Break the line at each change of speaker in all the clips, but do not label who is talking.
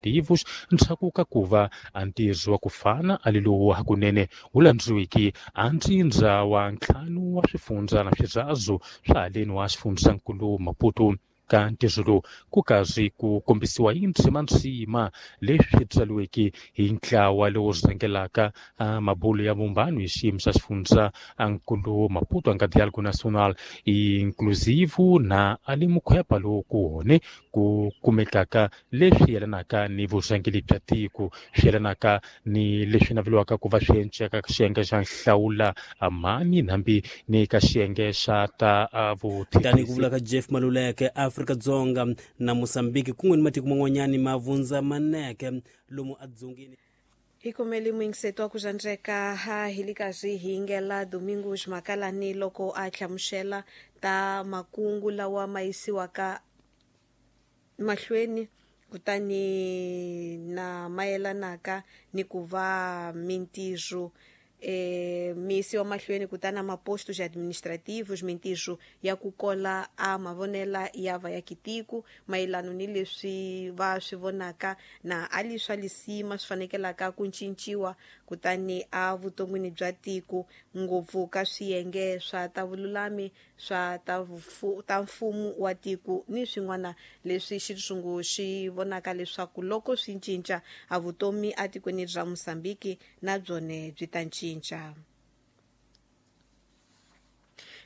Administrativos ndzhaku ka ku va a ntirho wa ku fana a li lowu hakunene wu landziwiki a ntsindza wa ntlhanu wa swifundza na swirazu swa haleni wa xifundzankulu Maputo. Ka ntirho lowu ku karhi ku kombisiwa hi ndzima leswi tsariweke hi ntlawa lowu rhangelaka mabulo ya vumbano hi xiyimo xa xifundza nkulu Maputo anga Diálogo Nacional Inclusivo na ali mukhwepa lowu ku hone ku kumekaka leswi yelanaka ni vurhangeri bya tiko, swi yelanaka ni leswi naveliwaka ku va swi enceka ka xiyenge xa nhlawula mani hambi ni ka xiyenge xa ta
tani ku vula ka Jeff Maluleke, Afrika-Dzonga na Mozambique kun'we ni matiko man'wanyani ma vundza maneke lomu adzongeni.
Hi kumele muyingiseto wa ku xandzeka ha hilikazi hi yingela Domingos Makalani loko a hlamusela ta makungu lawa ma yisiwaka mahlweni kutani na mayelanaka ni ku va mintirho miyisiwa mahlweni kutani mapostos administrativos mintirho ya ku kola a mavonela ya va ya kitiku mayelano ni leswi va swi vonaka na ali swa lisima swi fanekelaka ku cinciwa kutani a vuton'wini bya tiko ngopfu ka swiyenge swa ta vululami swa ta mfumo wa tiko ni swin'wana leswi xitshungu xi vonaka leswaku loko swi cinca a vutomi atikweni ra Mozambique na byone byi ta cinca.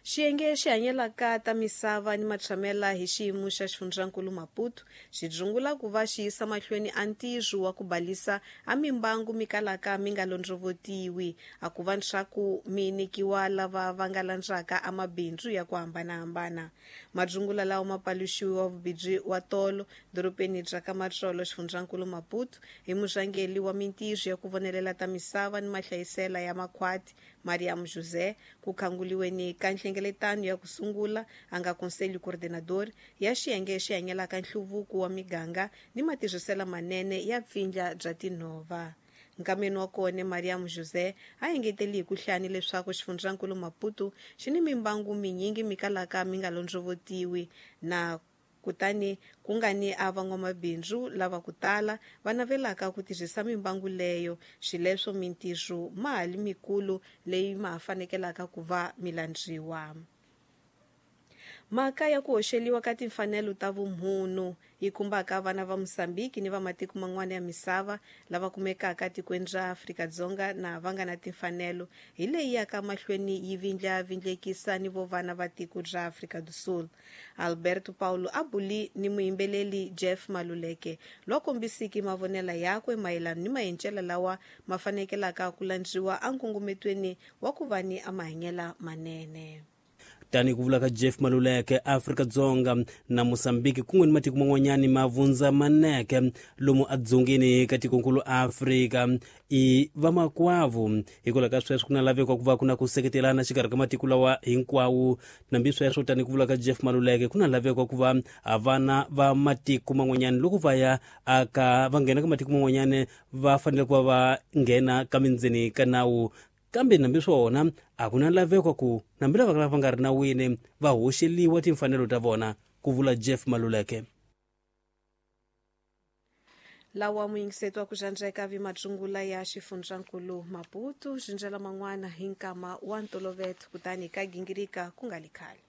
Xiyenge xi hanyelaka ta misava ni matshamela hi xiyimo xa xifundzankulu Maputo xi dzungula ku va xi yisa mahlweni a ntirho wa ku balisa a mimbangu mi kalaka mi nga londzovotiwi a ku va leswaku mi nyikiwa lava va nga landzaka a mabindzu ya ku hambanahambana. Madzungula lawa ma paluxiwa vubindzu wa tolo dorobeni bya ka Matsolo xifundzankulu Maputo hi murhangeri wa mintirho ya ku vonelela ta misava ni mahlayisela ya makhwati Mariam José ku khanguliweni ka nhlengeletano ya ku sungula a nga conselho coordenador ya xiyenge xi hanyelaka nhluvuko wa miganga ni matirhiselo manene ya pfindla bya tinhova. Nkameni wa kona Mariam José a engeteli hi ku hlani leswaku xifundzankulu Maputo xi ni mimbangu minyingi mi kalaka mi nga londzovotiwi na kutani ku nga ni a van'wamabindzu lava ku tala va navelaka ku tirhisa mimbangu leyo xileswo mintirho mali mikulu leyi ma fanekelaka ku va mi landziwa. Mhaka ya ku hoxeliwa ka timfanelo ta vumhunu yi khumbaka vana va Mozambique ni va matiko man'wana ya misava lava kumekaka tikweni ra Afrika-Dzonga na va nga na timfanelo hi leyi yaka mahlweni yi vindlavindlekisa ni vo vana va tiko ra Afrika do Sul. Alberto Paulo a buli ni muyimbeleli Jeff Maluleke lwa kombisiki mavonela yakwe mayelana ni mahencela lawa ma fanekelaka ku landziwa enkungumetweni wa ku va ni a mahanyela manene.
Tani ku vula ka Jeff Maluleke, Afrika-Dzonga na Mozambique kun'we ni matiko man'wanyani ma vundza maneke lomu adzongeni ka tikonkulu Afrika i vamakwavo. Hikwalaho ka sweswo ku na laveko ku va ku na ku seketelana xikarhi ka matiko lawa hinkwawo. Nambi sweswo tani ku vula ka Jeff Maluleke ku na laveko ku va vana va matiko man'wanyani loko va ya aka va nghena ka matiko man'wanyani va fanele ku va va nghena ka mindzeni ka nawu. Kambe nambi swona a ku na laveko ku nambi lava va nga ri nawini va hoxeliwa timfanelo ta vona, ku vula Jeff Maluleke.
Lawa muyingiseto wa ku xandzeka vi matsungula ya xifundzankulu Maputo xindzela man'wana hi nkama wa ntoloveto kutani ka gingirika ku nga li khale.